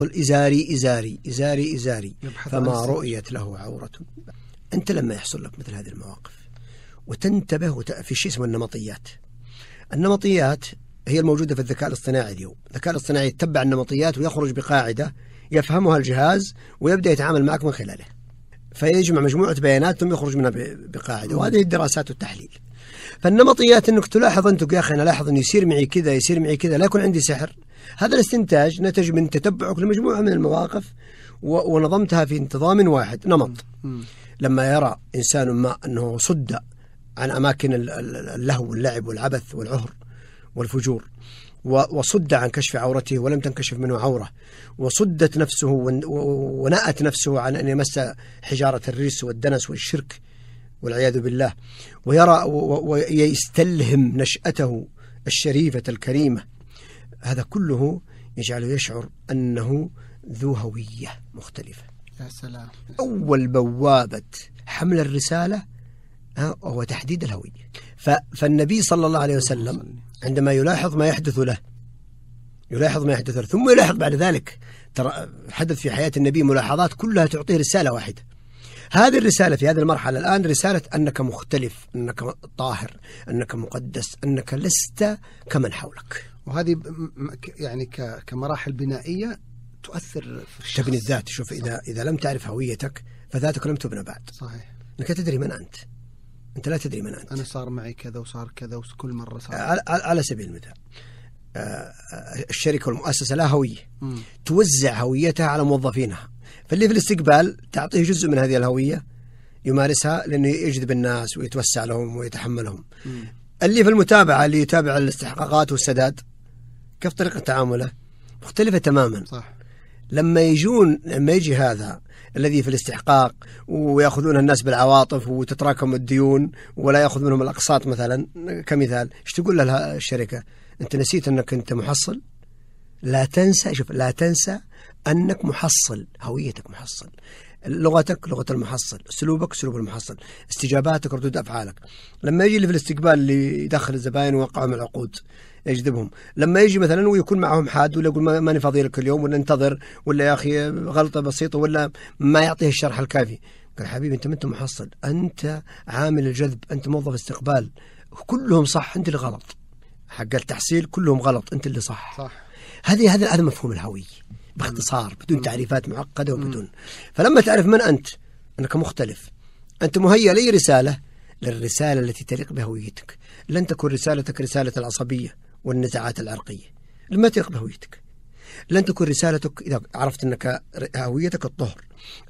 إزاري إزاري إزاري إزاري فما رؤيت له عورة. أنت لما يحصل لك مثل هذه المواقف وتنتبه في شيء اسمه النمطيات. النمطيات هي الموجودة في الذكاء الاصطناعي اليوم. الذكاء الاصطناعي يتبع النمطيات ويخرج بقاعدة يفهمها الجهاز ويبدأ يتعامل معك من خلاله، فيجمع مجموعة بيانات ثم يخرج منها بقاعدة، وهذه الدراسات والتحليل. فالنمطيات انك تلاحظ انت يا اخي انا لاحظ انه يصير معي كذا يصير معي كذا، لا يكون عندي سحر. هذا الاستنتاج نتج من تتبعك لمجموعة من المواقف ونظمتها في انتظام واحد نمط. لما يرى إنسان ما أنه صد عن أماكن اللهو واللعب والعبث والعهر والفجور، وصد عن كشف عورته ولم تنكشف منه عورة، وصدت نفسه ونأت نفسه عن أن يمس حجارة الريس والدنس والشرك والعياذ بالله، ويرى ويستلهم نشأته الشريفة الكريمة، هذا كله يجعله يشعر أنه ذو هوية مختلفة. يا سلام. أول بوابة حمل الرسالة هو تحديد الهوية. فالنبي صلى الله عليه وسلم عندما يلاحظ ما يحدث له ثم يلاحظ بعد ذلك، ترى حدث في حياة النبي ملاحظات كلها تعطيه رسالة واحدة. هذه الرسالة في هذه المرحلة الآن رسالة أنك مختلف، أنك طاهر، أنك مقدس، أنك لست كمن حولك. وهذه يعني كمراحل بنائية تؤثر في تبني الذات. شوف، إذا لم تعرف هويتك فذاتك لم تبنى بعد. صحيح. أنك تدري من أنت لا تدري من أنت. أنا صار معي كذا وصار كذا وكل مرة صار. على سبيل المثال، الشركة والمؤسسة لها هوية، توزع هويتها على موظفينها، فاللي في الاستقبال تعطيه جزء من هذه الهوية يمارسها لأنه يجذب الناس ويتوسع لهم ويتحملهم. اللي في المتابعة اللي يتابع الاستحقاقات والسداد كيف طريقة تعامله مختلفة تماما. صح. لما يجي هذا الذي في الاستحقاق ويأخذون الناس بالعواطف وتتراكم الديون ولا يأخذ منهم الأقساط مثلا كمثال، ايش تقول لها الشركة؟ أنت نسيت أنك أنت محصل؟ لا تنسى أنك محصل، هويتك محصل، لغتك لغة المحصل، أسلوبك أسلوب المحصل، استجاباتك ردود أفعالك. لما يجي اللي في الاستقبال اللي يدخل الزبائن ويوقعهم العقود يجذبهم، لما يجي مثلا ويكون معهم حاد ولا يقول ماني فاضي لك اليوم ولا انتظر ولا يا أخي غلطة بسيطة ولا ما يعطيه الشرح الكافي، قال حبيبي أنت ما أنت محصل، أنت عامل الجذب، أنت موظف استقبال، كلهم صح أنت اللي غلط، حق التحصيل كلهم غلط أنت اللي صح. هذا مفهوم الهوية باختصار بدون تعريفات معقدة وبدون. فلما تعرف من أنت، أنك مختلف، أنت مهيأ لأي رسالة، للرسالة التي تليق بهويتك. لن تكون رسالتك رسالة العصبية والنزاعات العرقية، لما تليق بهويتك. لن تكون رسالتك إذا عرفت أنك هويتك الطهر،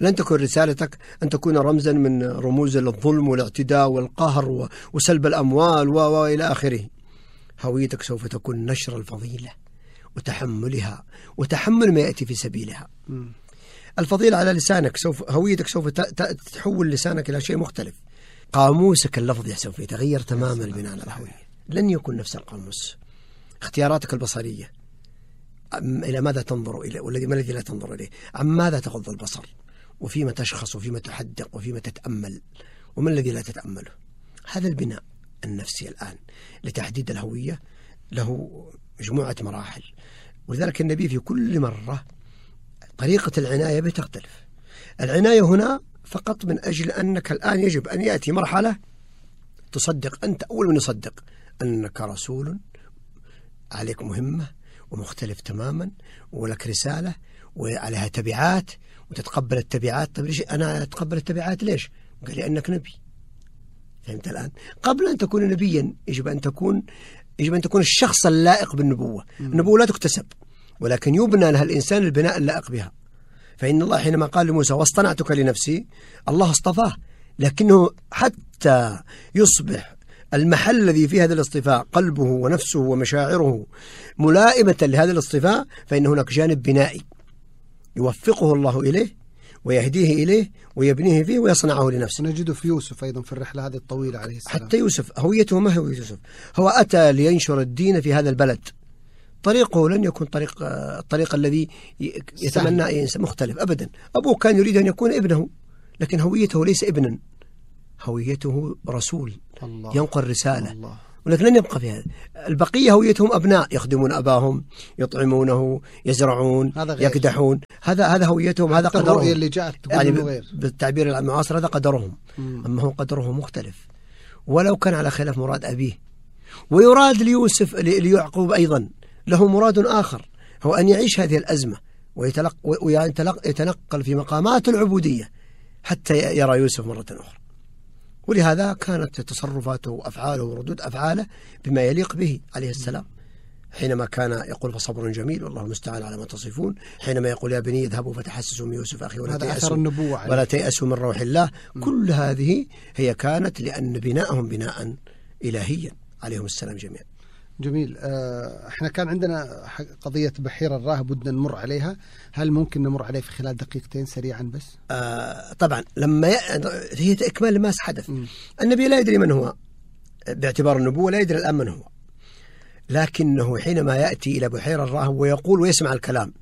لن تكون رسالتك أن تكون رمزا من رموز الظلم والاعتداء والقهر وسلب الأموال وإلى آخره. هويتك سوف تكون نشر الفضيلة وتحملها وتحمل ما يأتي في سبيلها. الفضيلة على لسانك، هويتك سوف تحول لسانك إلى شيء مختلف. قاموسك اللفظي سوف يتغير تماما بناء على الهوية، لن يكون نفس القاموس. اختياراتك البصرية، إلى ماذا تنظر إليه والذي ما الذي لا تنظر إليه، عن ماذا تغض البصر، وفيما تشخص وفيما تحدق وفيما تتأمل وما الذي لا تتأمله. هذا البناء النفسي الآن لتحديد الهوية له مجموعة مراحل، ولذلك النبي في كل مرة طريقة العناية به تختلف. العناية هنا فقط من أجل أنك الآن يجب أن يأتي مرحلة تصدق أنت أول من يصدق أنك رسول، عليك مهمة ومختلف تماما ولك رسالة وعليها تبعات وتتقبل التبعات. طيب ليش أنا أتقبل التبعات؟ ليش؟ قال لي أنك نبي. فهمت الآن؟ قبل أن تكون نبيا يجب أن تكون الشخص اللائق بالنبوة. النبوة لا تكتسب ولكن يبنى لها الإنسان البناء اللائق بها. فإن الله حينما قال لموسى واصطنعتك لنفسي، الله اصطفاه، لكنه حتى يصبح المحل الذي فيه هذا الاصطفاء قلبه ونفسه ومشاعره ملائمة لهذا الاصطفاء، فإن هناك جانب بنائي يوفقه الله إليه ويهديه إليه ويبنيه فيه ويصنعه لنفسه. نجده في يوسف أيضا في الرحلة هذه الطويلة عليه السلام. حتى يوسف هويته ما هو يوسف، هو أتى لينشر الدين في هذا البلد، طريقه لن يكون الطريق الذي يتمنى إنسان مختلف أبدا. أبوه كان يريد أن يكون ابنه، لكن هويته ليس ابنا، هويته رسول الله. ينقل رسالة الله. ولكن لن يبقى في هذا. البقية هويتهم أبناء يخدمون أباهم، يطعمونه، يزرعون، يكدحون، هذا هويتهم، هذا قدرهم اللي جاءت يعني بالتعبير المعاصر هذا قدرهم. أما هو قدره مختلف، ولو كان على خلاف مراد أبيه. ويراد ليوسف ليعقوب أيضا له مراد آخر، هو أن يعيش هذه الأزمة ويتنقل في مقامات العبودية حتى يرى يوسف مرة أخرى. ولهذا كانت تصرفاته وأفعاله وردود أفعاله بما يليق به عليه السلام، حينما كان يقول فصبر جميل والله المستعان على ما تصفون، حينما يقول يا بني اذهبوا فتحسسوا من يوسف أخي ولا تيأسوا من روح الله. كل هذه هي كانت لأن بناءهم بناء إلهيا عليهم السلام جميعا. جميل. احنا كان عندنا قضية بحيرة الراهب بدنا نمر عليها، هل ممكن نمر عليه في خلال دقيقتين سريعا بس؟ طبعا لما هي إكمال لما حدث. النبي لا يدري من هو باعتبار النبوة، لا يدري الآن من هو، لكنه حينما يأتي إلى بحيرة الراهب ويقول ويسمع الكلام،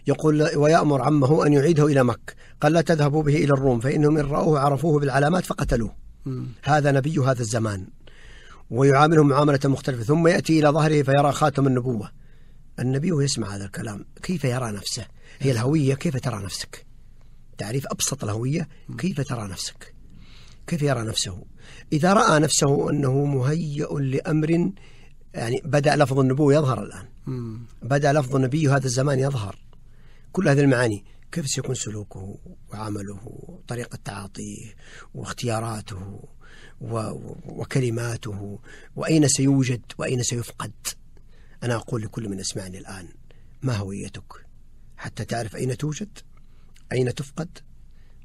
يقول ويأمر عمه أن يعيده إلى مكة، قال لا تذهبوا به إلى الروم فإنهم إن رأوه عرفوه بالعلامات فقتلوه. هذا نبي هذا الزمان، ويعاملهم معاملة مختلفة. ثم يأتي إلى ظهره فيرى خاتم النبوة. النبي يسمع هذا الكلام كيف يرى نفسه؟ هي الهوية، كيف ترى نفسك؟ تعريف أبسط الهوية، كيف ترى نفسك؟ كيف يرى نفسه؟ إذا رأى نفسه أنه مهيئ لأمر، يعني بدأ لفظ النبوة يظهر الآن، بدأ لفظ النبي هذا الزمان يظهر، كل هذه المعاني، كيف سيكون سلوكه وعمله وطريقة تعاطيه واختياراته وكلماته، وأين سيوجد وأين سيفقد. أنا أقول لكل من يسمعني الآن، ما هويتك حتى تعرف أين توجد، أين تفقد،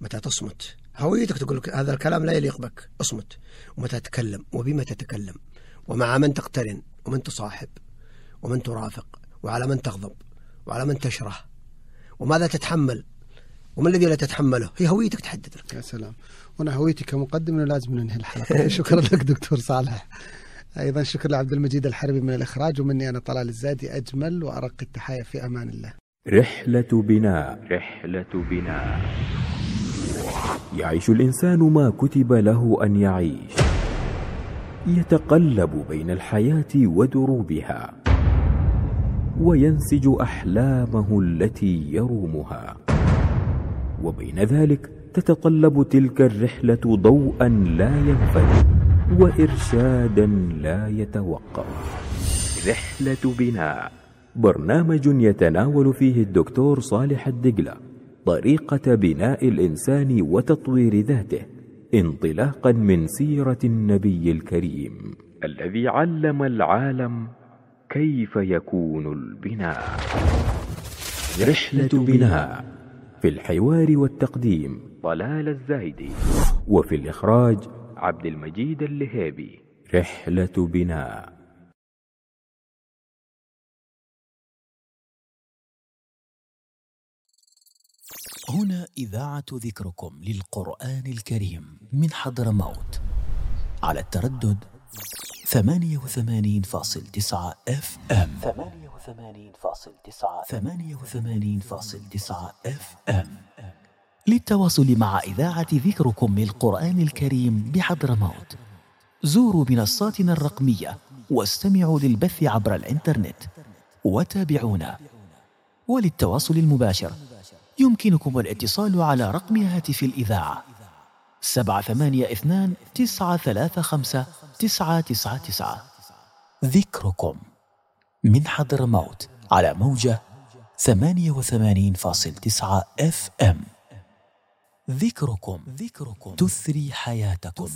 متى تصمت. هويتك تقول لك هذا الكلام لا يليق بك، اصمت. ومتى تتكلم وبما تتكلم، ومع من تقترن ومن تصاحب ومن ترافق، وعلى من تغضب وعلى من تشره، وماذا تتحمل وما الذي لا تتحمله. هي هويتك تحدد لك. يا سلام. وانا هويتي كمقدم انه لازم ننهي الحلقه. شكرا لك دكتور صالح. ايضا شكرا لعبد المجيد الحربي من الاخراج، ومني انا طلال الزادي اجمل وارق التحايا في امان الله. رحلة بناء. يعيش الإنسان ما كتب له أن يعيش، يتقلب بين الحياة ودروبها، وينسج أحلامه التي يرومها، وبين ذلك تتطلب تلك الرحلة ضوءا لا ينفد وإرشادا لا يتوقف. رحلة بناء، برنامج يتناول فيه الدكتور صالح الدقلة طريقة بناء الإنسان وتطوير ذاته، انطلاقا من سيرة النبي الكريم الذي علم العالم كيف يكون البناء. رحلة بناء، في الحوار والتقديم طلال الزايدي، وفي الإخراج عبد المجيد اللهيبي. رحلة بناء. هنا إذاعة ذكركم للقرآن الكريم من حضرموت على التردد 88.9 FM. 88.9 FM. للتواصل مع إذاعة ذكركم للقرآن الكريم بحضرموت زوروا منصاتنا الرقمية واستمعوا للبث عبر الإنترنت وتابعونا. وللتواصل المباشر يمكنكم الاتصال على رقم هاتف الإذاعة 782-935-999. ذكركم من حضرموت على موجة 88.9 FM. ذكركم تثري حياتكم.